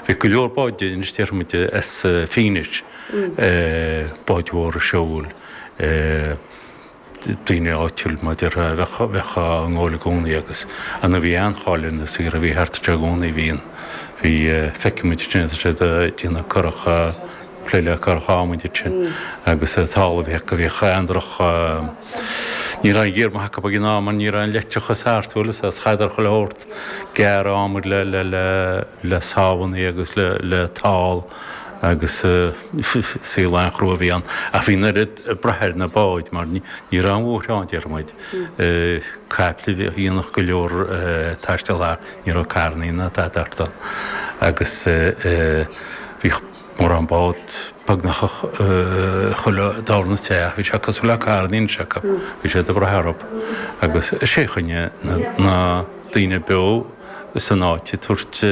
Bhí go leor báid anois déarfaidh muid as Fínis, báid mhóra seoil, daoine áitiúil mar déarfá a bheadh á ngabháil i gcónaí agus ar ndóigh bhí an-cháil ar na saothar a bhí thart anseo i gcónaí, bhí an, bhí, feicfidh muid ansin tá siad ag déanamh curach, plé le curach adhmaid ansin agus talamh a bhí acu, bhíodh an-droch, ní raibh aon ghiar maith acu ag an am mar ní raibh an leictreachas thart, bhfuil fhios agat, chaithfeadar chuile shórt gearradh adhmaid le, le, le, le sábhannaí agus le, le tál agus saol an-chrua a bhí ann. Ach bhí an oiread ag brath ar na báid mar ní raibh aon bhóithre ann, déarfaidh muid. Caiple a dhéanfadh go leor taisteal thart, ní raibh carrannaí ná tada thart ann. Agus bhíodh mórán bád beagnach chuile darna teach, bhí sé cosúil le carrannaí anois acu, bhí siad ag brath orthu. Agus is é a choinnigh na daoine beo. san áit ag tabhairt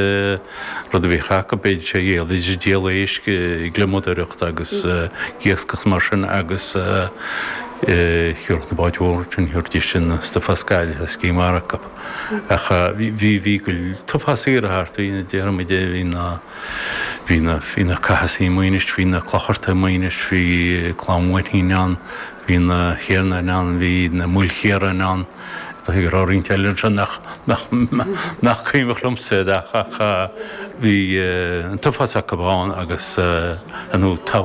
rud a bhíodh acu, b'fhéidir sé a dhíol, bhídís ag díol éisc, ag gliomadóireacht agus ag iascach mar sin agus thiúrfadh na báid mhóra sin, thiúrfaidís an stuif as Gaillimh as Cín Mhara acu. Ach bhí, bhí go leor, t-uafás saothar thart, bhí na, déarfaidh muid, bhí na, bhí na, bhí na Cathasaigh i Maínis, bhí na Clochartaigh i Maínis, bhí Clann Mhuirthín ann, bhí na Thiarnain ann, bhí na Maoilchiaráin ann. Tá go raibh roinnt eile anseo nach nach cuimhneach liomsa iad ach ach bhí an t-uafás acu ann agus nó tá.